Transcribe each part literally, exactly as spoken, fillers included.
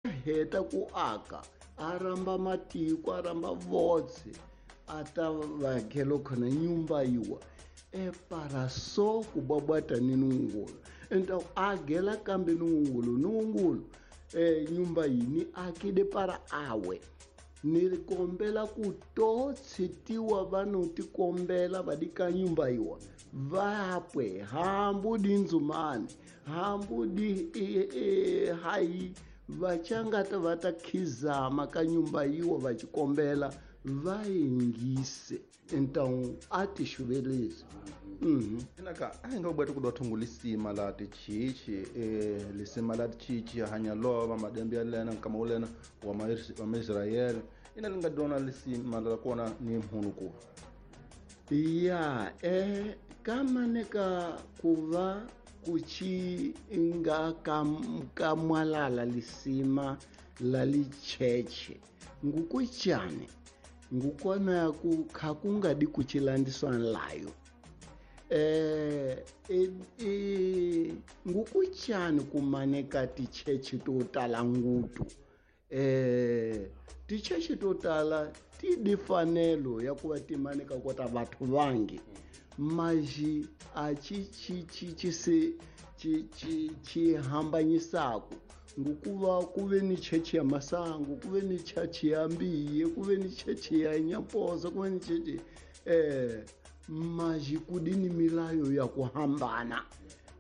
Heta ku aka a ramba matiko a ramba votse a ta vakhelo khona nyumba yiwa e para so ku babwata ni nungulu então agela kambe nungulu nungulu e nyumba yini akide para awe ni kombela ku to tshitiwa vanhu ti kombela va dika nyumba yiwa vapwe hambu di ndzumani hambu di e, e, hayi vachangata va ta khizama ka nyumba yiwa va xikombela va yingise então a ti xuvelezi. Mhm. Inaka a hi nga bweta ku dotho ngulisima la tichichi eh lisima la tichichi hanya lova madembe ya lena nkama ulena wa ma wa Israel ina linga dona lisima la kona ni mhunu ku ya eh kama neka kuva kuchi nga ka mwalala lisima la licheche ngukuchane ngukona ku khakungadi kuchilandiswa layo eh e, e ngukuchane kumaneka ticheche to tala ngutu eh ticheche to tala ti difanelo ya kuva timaneka kota vathu vangi maji a chi chi chi chi se chi chi chi hambanyisaku ngukuva kuve ni cheche ya masangu kuve ni cheche ya mbiye kuve ni cheche ya nyaposa kuve ni cheche eh maji kudini milayo ya kuhambana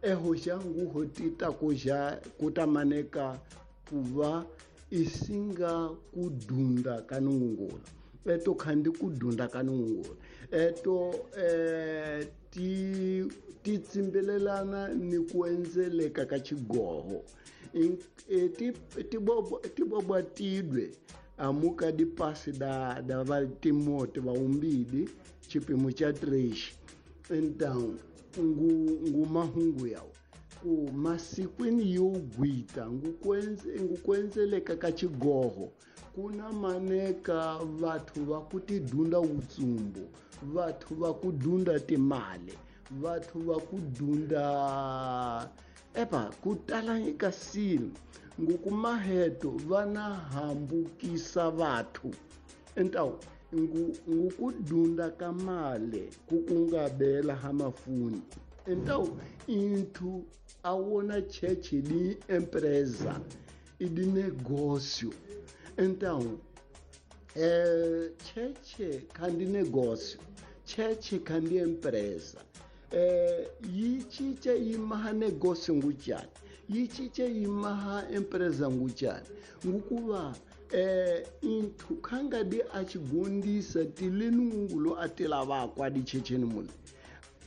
eho jangu hotita kuja kutamaneka kuva isinga kudunda kanungungula eto khandi kudunda kanungungula eto eh ti ti tsimbelelana ni kuenzeleka ka chigoho e ti ti bobo ti bobo tidwe amuka di pasi da da va Timote va umbidi chipimo cha três então ngu ngu mahungu yawo ku masikwini yo gwita ngukwenze ngukwenzeleka ka chigoho kuna maneka vathu va ku tidunda utsumbu vathu va ku dunda timali vathu va ku dunda epa ku tala eka silo ngukumaheto vana hambukisa vathu então ngu ngukudunda kamale kukungabela hamafuni então into awona cheche di empresa e de negócio então eh cheche kandi negócio cheche kandi empresa eh yichiche imaha negócio nguchani yichiche imaha empresa nguchani ngukuva eh inthu khanga di achigondisa tilenungulo atelavakwa dichecheni mule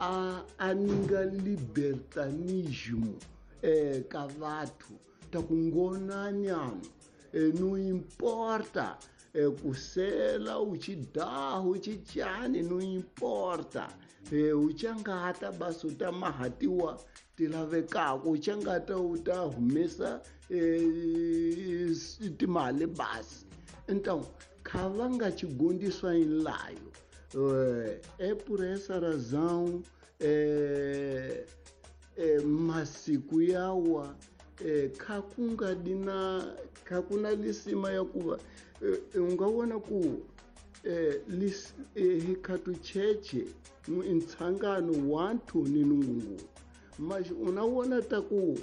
a aninga libertanismo eh ka vathu ta kungonanyana eh, não importa eh, kusela uchidaho uchichani não importa eh, uchangata basi utamahatiwa tilavekako uchangata utahumesa eh, timali basi então khavanga chigondiswa inlayo eh, é por essa razão eh, eh, masiku yawa eh, khakunga dina khakuna lisima ya kuva eh, ungawona ku eh, lis, eh, hikhatu cheche ntshangano wanthu ni nungungu mas unawona ta ku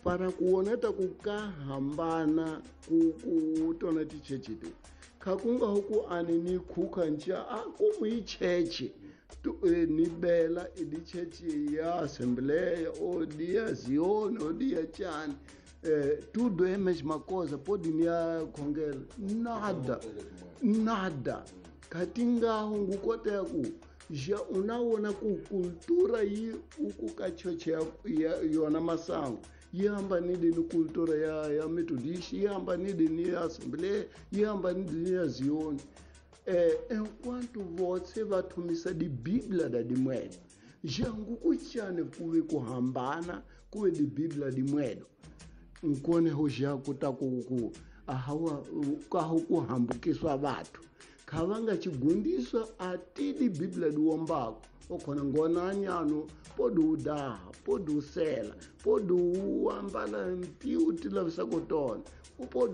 para kuona ta ku ka hambana ku ku tona ticheche ti khakunga huku ani ni khukha ncha a ku yi cheche tu eh, ni bela idi cheche ya assembleia ou dia Zion ou dia chan eh, tudo é a mesma coisa pode ni a khongela nada nada katinga hungu kote ku ja unawona ku cultura yi uku ka cheche ya yona masango yi hambanile ni cultura ya ya Methodist yi hambanile ni ya Assembleia yi hambanile ni ya Zion eh enquanto votse va thumisa di Biblia da dimwedo jangu kuchane kuve kuhambana kuve di Biblia dimwedo nkone ho ja kuta ku ku ahawa ka ho ku hambukiswa vathu Kha va nga tshigundiswa a tidi Biblia diwombako okhona ngonani ano podi u daha, podi u sela, podi u ambala mpiu ti lavisako tona, u podi.